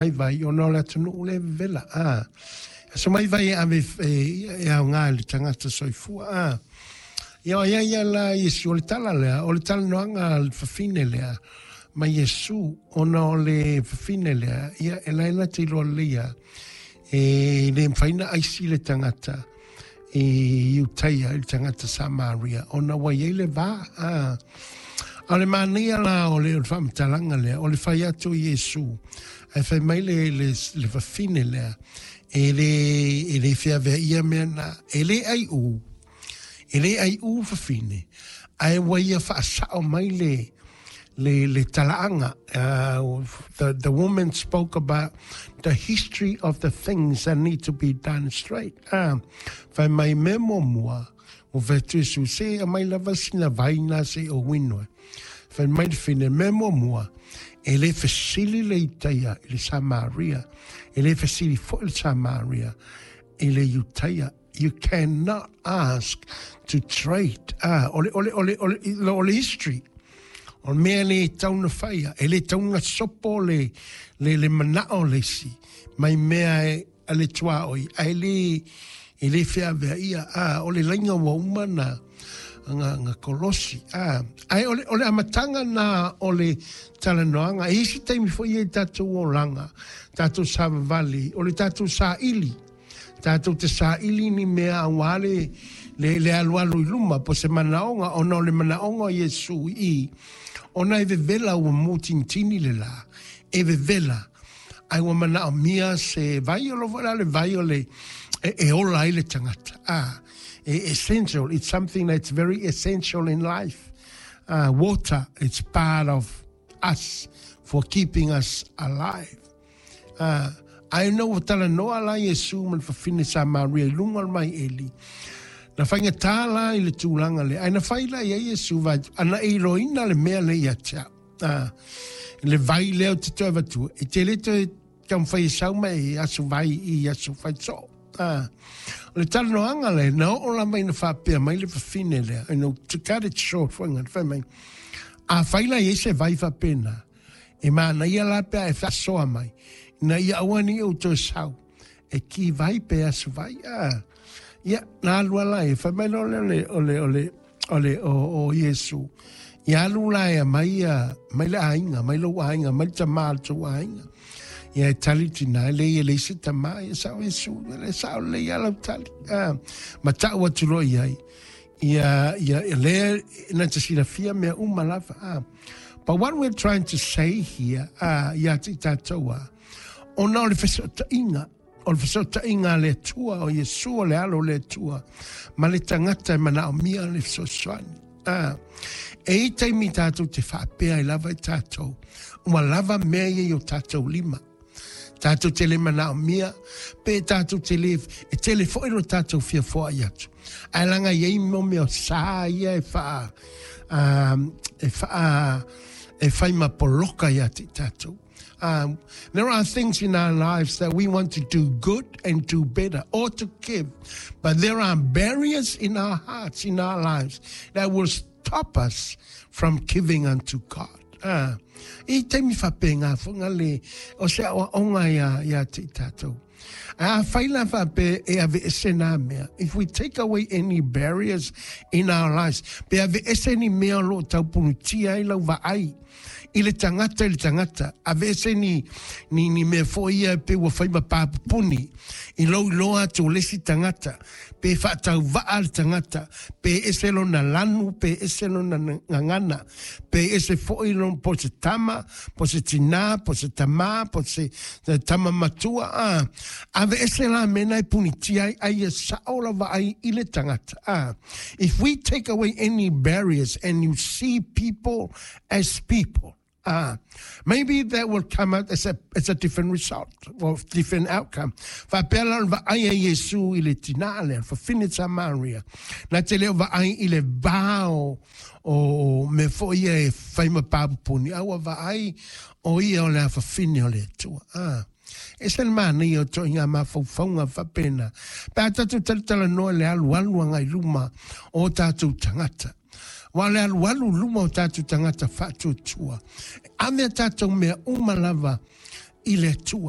Vai ona o le atunuu lea e vevela. A aso mai vai e ave e aoga i le tagata soifua. A ia o ia ia la Iesu o le tala lea, o le talanoaga a le fafine lea ma Iesu, ona o le fafine lea, ia e la e na te iloa lelei lava, e le mafai ona aisi le tagata i Iutaia i le tagata Samaria ona ua i ai le va. A o le manaia la o le faamatalaga lea, o le fai atu o Iesu, ae fai mai le fafine lea, e le feaveaia mea na, e le aiu, e le aiu fafine, ae ua ia faasao mai le talaaga. The woman spoke about the history of the things that need to be done straight. Fai mai mea muamua, ua fai atu Iesu, se aumai lava sina vai na se i ou inu ai. Fai mai le fafine, mea muamua, e le fesili le Iutaia i le Samaria, e le fesili foi le Samaria i le Iutaia. You cannot ask to trade. Ah, o le history. O le mea le tau na faia, e le tau na sopo le manao le isi, mai mea e a le tuaoi, ae le, e le feaveaia. Ah, o le laina ua uma na, nga kolosi. Ah, ae o le amataga na o le talanoaga. E isi taimi foi ia i tatou olaga, tatou savavali, o le tatou saili. Tatou te saili ni mea aua le alualu i luma po se manaoga ona o le manaoga o Iesu i ona e vevela ua mutinitini le la e vevela ai ua manaomia se vai o lo foi la le vai o le e ola ai le tagata. Ah, essential, it's something that's very essential in life. Water, it's part of us for keeping us alive. Ae na ua talanoa la Iesu ma le fafine Samaria i luga o le maieli. Na faigata la i le tulaga lea. Ae na fai la i ai Iesu vai, ana e iloina le mea lea ia te au. Le vai lea o te toe avatua, e te le toe taumafai e sau mai e aso vai i aso fai soo. O le talanoaga lea, na oo lava ina faapea mai le fafine lea, to cut it short, foi ngā, fai mai, a fai la i ai se vai faapena, e manaia la pe a e faasoa mai, ina ia aua ne i ou toe sau, e ki vai pe aso vai. Ah. Ia, na alu ala e, fai mai loa lea o le, o Iesu. Ia alu la e mai, mai le aiga, mai lou aiga, mai le tamā le tou aiga. Ia e tali tina, e le ia le isi tamā, ia sao Iesu, le sao le ia lau tali. Ah, ma tau atu loa i ai. Ia, ia lea na te silafia mea uma lava. Ah. But what we're trying to say here, ia te tātou a, ona o le fesootaiga, o le fesootaiga a le Atua, o Iesu o le alo o le Atua, ma le tagata e manaomia le fesoasoani. Ah, e i taimi tātou te faapea ai lava i tātou, ua lava mea ia i o tātou lima. Tātou te le manaomia, pe tātou te le, e tele foi lo tātou fia foai atu. Ae laga i ai mo mea o sa ia e wha, e whai ma poloka ia te tātou. There are things in our lives that we want to do good and do better or to give, but there are barriers in our hearts, in our lives, that will stop us from giving unto God. Ah, i taimi whapenga whanga le o se awa onga ia te tātou. A whai la whape e ave ese nā mea. If we take away any barriers in our lives, pe ave ese ni mea lo taupunutia ai lau vaai, i le tagata i le tagata, ave ese ni mea foi ia pe ua fai ma papupuni, i lou iloa atu o le isi tagata, pe faatauvaa le tagata, pe ese lona lanu, pe ese lona gagana, pe ese foi lona po se tama, po se tinā, po se tamā, po se tama matua, ah. Ave ese la mea e punitia ai, ai e sao la vaai i le tagata. Ah. If we take away any barriers and you see people as people, maybe that will come out as a different result or different outcome. Faapea la o le vaai a Iesu i le tinā lea, fafine Samaria. Na te leo vaai i le vao o me foi ia e fai ma papupuni, a ua vaai o ia o le afafine o le Atua. Ah. E se le manaia o toʻiga mafaufauga faapena. Pe a tatou talatalanoa le alualu agai luma o tatou tagata. Wa le alualu luma o tatou tagata faatuatua. Ave a tatou mea uma lava i le Atua.